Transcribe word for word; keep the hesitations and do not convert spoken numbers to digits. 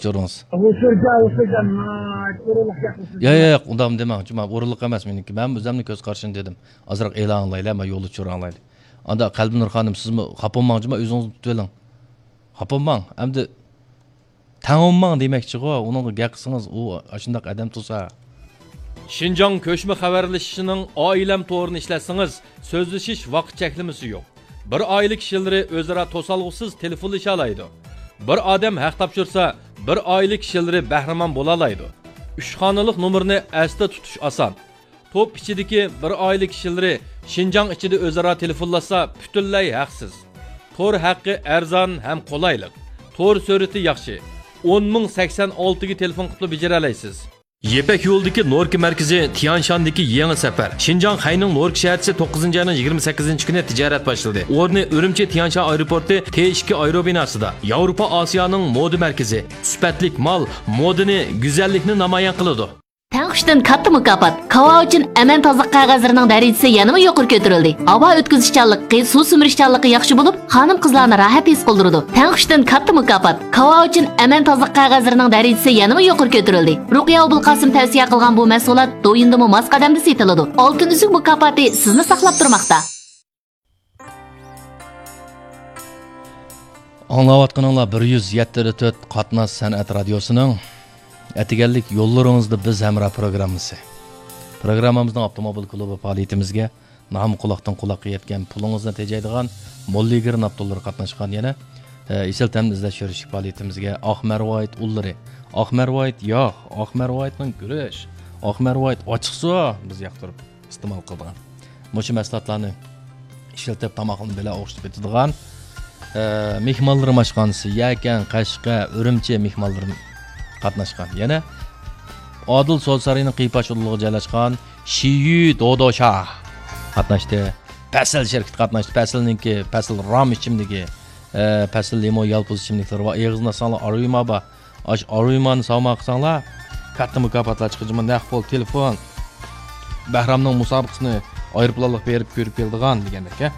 چورىڭىز. ئۇچۇرجا، ئۇچۇرجا، ما، چورۇلۇق گەپ قىلسىز. ياق، ياق، ياق، ئۇنداق دېمەڭ. جۇما، ئورۇنلۇق ئەمەس مېنىڭكى. مەن ئۆزۈمنىڭ كۆز قارىشىنى دېدىم. ئازراق ئېلان ئاڭلايلى، ما يولدا چورۇڭلايلى. ئاندا قەلبىنۇر خانىم، سىزمۇ خاپا بولماڭ، جۇما، ئۆزىڭىزنى تۇتۇۋېلىڭ. خاپا بولماڭ. ئەمدى تەڭ بولماڭ دېمەكچىغۇ، ئۇنىڭغا گەپ قىلسىڭىز، ئۇ ئاشۇنداق ئادەم تۇرسا. شىنجاڭ كۆچمە خەۋەرلىشىشىنىڭ ئائىلەم تورىنى ئىشلەتسىڭىز، سۆزلىشىش ۋاقىت چەكلىمىسى يوق. بىر ئائىلە كىشىلىرى ئۆزئارا توسالغۇسىز تېلېفونلىشالايدۇ. بىر ئادەم ھەق تاپشۇرسا، بىر ئائىلە كىشىلىرى بەھرىمەن بولالايدۇ. ئۈچ خانىلىق نومۇرنى ئەستە تۇتۇش ئاسان. توپ ئىچىدىكى بىر ئائىلە كىشىلىرى شىنجاڭ ئىچىدە ئۆزئارا تېلېفونلاشسا، پۈتۈنلەي ھەقسىز. تور ھەققى ئەرزان ھەم قولايلىق. تور سۈرئىتى ياخشى. ئون مىڭ سەكسەن ئالتىگە تېلېفون قىلىپلا بېجىرەلەيسىز. يىپەك يولىدىكى نوركا مەركىزى تيانشاندىكى يېڭى سەپەر. شىنجاڭ خەينىڭ نوركا شەھەرچىسى توققۇزىنچى ئاينىڭ يىگىرمە سەككىزىنچى كۈنى تىجارەت باشلىدى. ئورنى ئۈرۈمچى تيانشان ئايروپورتى تې ئىككى ئايروبىناسىدا. ياۋروپا ئاسىيانىڭ مودا مەركىزى. سۈپەتلىك مال مودىنى، گۈزەللىكنى نامايان قىلىدۇ. تەڭ ئۈچتىن كاتتا مۇكاپات. كاۋاۋىچىن ئەمەن تازىلىق قەغەزلىرىنىڭ دەرىجىسى يەنىمۇ يۇقىرى كۆتۈرۈلدى. ھاۋا ئۆتكۈزۈشچانلىقى، سۇ سۈمۈرۈشچانلىقى ياخشى بولۇپ، خانىم-قىزلارنى راھەت ھېس قىلدۇرىدۇ. تەڭ ئۈچتىن كاتتا مۇكاپات. كاۋاۋىچىن ئەمەن تازىلىق قەغەزلىرىنىڭ دەرىجىسى يەنىمۇ يۇقىرى كۆتۈرۈلدى. رۇقىيە ئوبۇلقاسىم تەۋسىيە قىلغان بۇ مەھسۇلات دويىندىمۇ ماس قەدەمدە سېتىلىدۇ. ئالتۇن ئۈزۈك مۇكاپاتى سىزنى ساقلاپ تۇرماقتا. ئاڭلاۋاتقىنىڭلار بىر يۈز يەتتە تۆت قاتناش سەنئەت رادىيوسىنىڭ ئەتىگەنلىك يوللىرىڭىزدا بىز ھەمراھ پروگراممىسى. پروگراممىمىزنىڭ ئاپتوموبىل كۇلۇبى پائالىيىتىمىزگە نام قۇلاقتىن قۇلاققا يەتكەن، پۇلىڭىزنى تېجەيدىغان موللىگىر ناپتوللىرى قاتناشقان يەنە، ئە، ئېسىل تەمنى ئىزدەش يۈرۈشلۈك پائالىيىتىمىزگە ئاق مەرۋايىت ئۇللىرى، ئاق مەرۋايىت ياغ، ئاق مەرۋايىتنىڭ گۈرۈچ، ئاق مەرۋايىت ئاچچىق سۇ بىز ياقتۇرۇپ ئىستېمال قىلىدىغان، مۇشۇ مەھسۇلاتلارنى ئىشلىتىپ، تاماقنى بىلەن ئوخشىتىپ ئېتىدىغان، ئە، مېھمانلىرىم ئاشخانىسى، يەكەن، قەشقەر، ئۈرۈمچى مېھمانلىرىم قاتناشقان. يەنە ئادىل سودا سارىيىنىڭ قىيپاش ئۇدۇلىغا جايلاشقان شىيۈ دودوشا قاتناشتى. پەسىل شىركىتى قاتناشتى. پەسىلنىڭكى، پەسىل رام ئىچىملىكى، ئە، پەسىل لىمون يالپۇز ئىچىملىكلىرى بار. ئېغىزىنى ئاچساڭلار، ئاروما بار. ئاشۇ ئارومانى ساۋغا قىلساڭلار، كاتتا مۇكاپاتلار چىقىدۇ. جۇمۇ نەق پۇل، تېلېفون، بەھرامنىڭ مۇسابىقىسىنى ئايروپىلانلىق بېرىپ كۆرۈپ كېلىدىغان دېگەندەك، ھە.